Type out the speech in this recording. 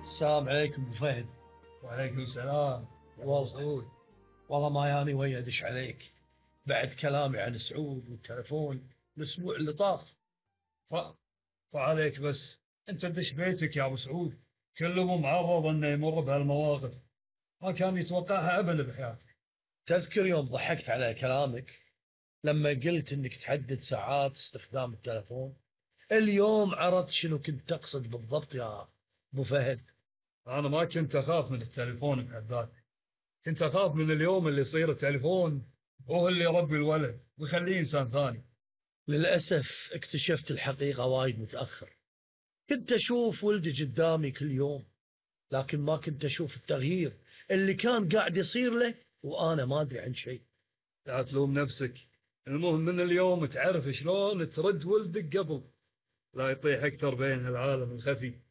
السلام عليكم ابو فهد. وعليكم السلام يا أبو والله سعود. والله ما ياني ويا ادش عليك بعد كلامي عن سعود والتلفون الاسبوع اللي طاف. ف... فعليك بس، أنت دش بيتك يا أبو سعود. كل أبو معرض أنه يمر بهالمواقف، ما كان يتوقعها أبدا بحياته. تذكر يوم ضحكت على كلامك لما قلت انك تحدد ساعات استخدام التلفون؟ اليوم عرفت شنو كنت تقصد بالضبط يا ابو فهد. أنا ما كنت أخاف من التليفون بحد ذاته، كنت أخاف من اليوم اللي يصير التليفون هو اللي يربي الولد ويخليه إنسان ثاني. للاسف اكتشفت الحقيقة وايد متأخر. كنت اشوف ولدي قدامي كل يوم، لكن ما كنت اشوف التغيير اللي كان قاعد يصير له وانا ما ادري عن شيء. لا تلوم نفسك، المهم من اليوم تعرف شلون ترد ولدك قبل لا يطيح أكثر بين هالعالم الخفي.